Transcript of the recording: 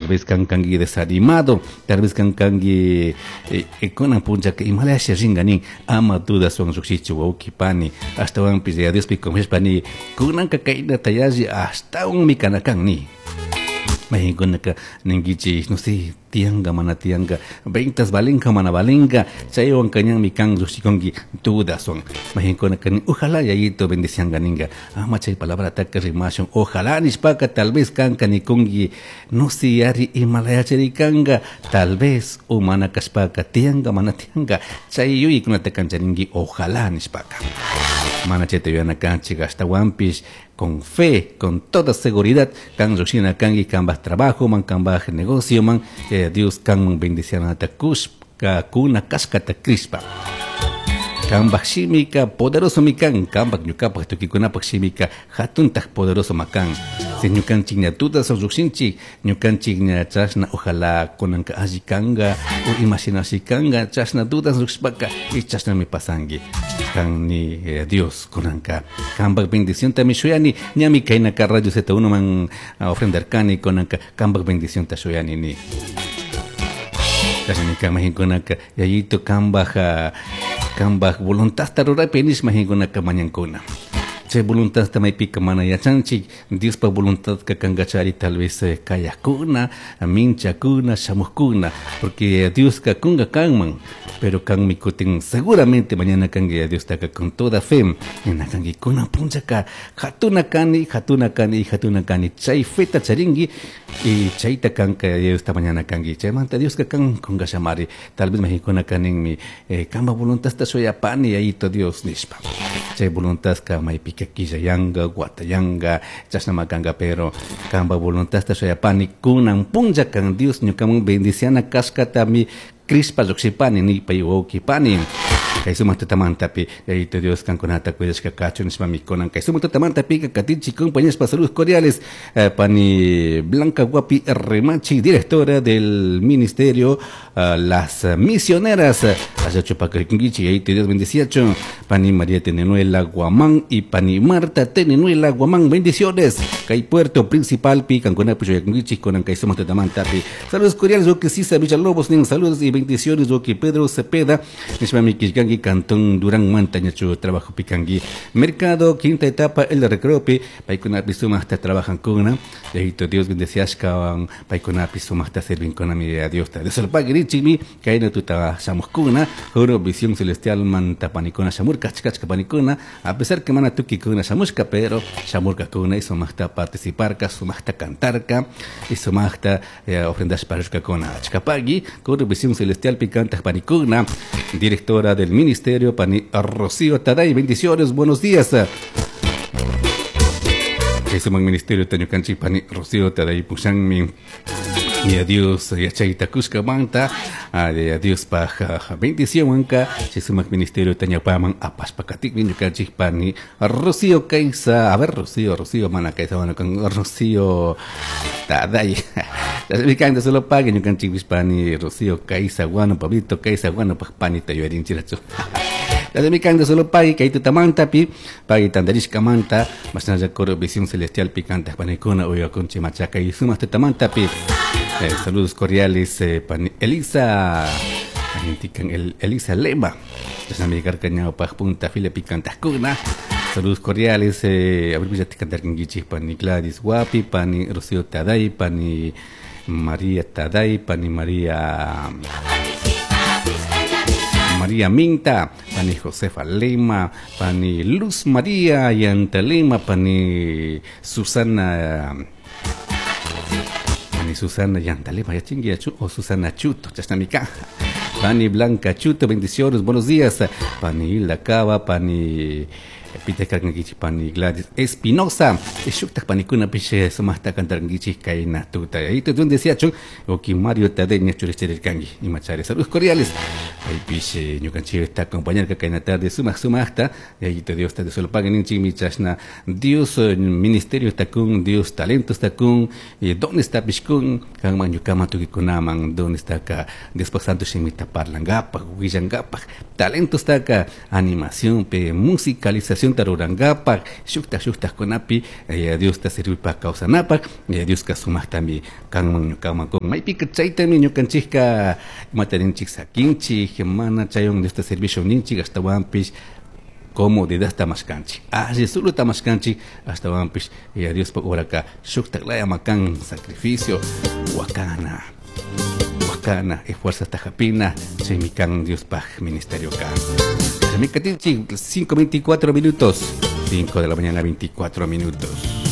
vez kan kanki desanimado, tal vez kan kanki kunan punchaka imalasha ringa nin, ama dudaswan llukshichu wawki pani, ashtawanpish Yaya Diospi confiashpa ni, kunanka kaynata yalli ashtawanmi kana kan ni. Mayqinkunaka ninkichik, no sé, tiyanka mana tiyanka, ventas valenka mana valenka, chaywanka ñanmi kan llukshikunki dudaswan. Mayqinkunaka nin, ojalá Yayito bendicianka ninka, ama chay palabrataka rimashun, ojalá nishpaka tal vez kanka nikunki, no sé, ari imalayachari kanka, tal vez o mana kashpaka tiyanka mana tiyanka, chay yuyaykunata kancharinki ojalá nishpaka. Mana chayta yuyana kanchik, ashtawanpish con fe, con toda seguridad, kan llushina kanki kanpaj trabajo man, kanpaj negocio man, Dios kanman bendicianata kushka kuna kashkata crishpa. Kanpaj shimika poderoso mi kan, kanpaj ñukapaj tukuykunapaj shimika jatuntaj poderoso ma kan. Si ñukanchik ña dudas llukshinchik, ñukanchik ña chashna ojalá kunanka alli kanka o imashinashi kanka, chashna dudas llukshpaka y chashnami pasanki. Kan ni Dios kunanka kanpaj bendiciontami shuyani, ñami kaynaka Radio Z1 man ofrendarkani kunanka kanpaj bendicionta shuyani ni. Chashnami kan mahinkunaka Yayito kanpaj kanpaj voluntadta ruraypi nish mahinkunaka mañankuna. Chay voluntadta maypika mana yachanchik, Diospaj voluntadka kankachari tal vez kayakuna, minchakuna, shamukuna, porque Dioska kunga kanman, pero kanmi kutin seguramente mañana kanki Diostaka con toda fe, nina kanki kunan punchaka jatuna kani, jatuna kani, jatuna kani, chay feta charinki y chayta kanka Diosta mañana kanki, chaymanta Dioska kan kunga shamari, tal vez mahinkuna kaninmi kanpa voluntadta shuyapani Yayito Dios nishpa. Chay voluntadka maypika killayanga, watayanga, chashnama kanka, pero kanpa voluntadta shuyapani kunan puncha kan Dios ñukaman bendiciana kashkatami crishpa llukshipani nipay wawkipani. Kay sumak tutamantapi Yayito Dios kankunata cuidashka kachun nishpami kunan kay sumak tutamantapika katinchik compañeros saludos cordiales, pani Blanca Guapi Remachi, directora del ministerio Las Misioneras, allá Chupacariquinguichi, Yayito Dios bendiciacho, pani María Tenenuela Guamán y pani Marta Tenenuela Guamán, bendiciones. Kay Puerto Principal pi kankunapi chuyakunguichi kunan kay sumak tutamantapi. Saludos cordiales, que Sisa Villalobos, nin saludos y bendiciones, que Pedro Cepeda, nishpami kishkanki Cantón Durán Mantañachu, trabajo picanqui. Mercado, quinta etapa, el recreo pi, paykunapi sumaqta trabajan kuna, Yayito Dios bendeciashkawan, paykunapi sumaqta servin kuna, mi Dios ta. Dios lo pague, richimi, kayna tuta shamuqkuna, juro visión celestial manta panikuna shamurka, achka panikuna, a pesar que mana tukikuna shamushka, pero shamurkakuna y sumaqta participarka, sumaqta cantarka, y sumaqta ofrendashparushkakuna. Achkapagui, juro visión celestial picanta panikuna, directora del ministerio, pani Rocío Taday, bendiciones, buenos días. Kay ministerio tañukanchik pani Rocío Taday pushanmi. Y a Dios yachayta kushkamanta, a Dios paj bendición wanka, chay sumak ministerio tañapaman apashpakatikmi ñukanchik pani Rocío Kaisa, a ver Rocío, Rocío mana Kaisa, bueno, con Rocío Taday. Chasmi solo pague ñukanchikpish pani Rocío Kaisa, guano, Pablito Kaisa, guano, paj pani tayuarinchirachu. Chasmi kanta solo pague kay tutamantapi, pague tandarishkamanta, mashnalla coro visión celestial picanta panikuna uyakunchi machaca y sumak tutamantapi. Saludos cordiales, pani Elisa, Argentican, el Elisa Lema, Chasnami karkañao paj punta fila picantajkuna. Saludos cordiales, a ver, ya te cantarkinkichik, pani Gladys Guapi, pani Rocío Taday, pani María Taday, pani María María Minta, pani Josefa Lema, pani Luz María Yanta Lema, pani Susana, pani Susana Yantalema, ya chingui, ya chu, o Susana Chuto, chasnamika. Pani Blanca Chuto, bendiciones, buenos días. Pani Hilda Cava, pani Pita karkankichik, pani Gladys Espinosa, shuktaj panikunapish sumaqta cantarkankichik kayna tuta. Ahí te donde decía chun, oki Mario Tadeña churishchirkanki, imachari. Saludos cordiales. Paypish ñukanchikta acompañarka kayna tarde sumaq sumaqta. Yayito Diosta Dios lo pague ninchikmi chashna Dios ministerio kun, Dios talentos kun, dones tapish kun, kanman ñukaman tukuykunaman dones taka Diospak santo shimita parlankapaj, willankapaj, talentos taka animación pe musicalización rurankapaj, shukta shuktakunapi Diosta sirvipak kawsanapaj, Dioska sumaqtami kanman ñukaman kun. Maypika chaytami ñukanchikka imata ninchik sakinchik, mana chaywan Diosta servicio ninchik ashtawanpish comodidadta mashkanchik, alli suluta mashkanchik, ashtawanpish Diospak oraka shuktak laya makan sacrificio, wakana, wakana, esfuerzota hapina, chaymi kan Diospaj ministerio kan. 5:24 minutos, 5 de la mañana 24 minutos.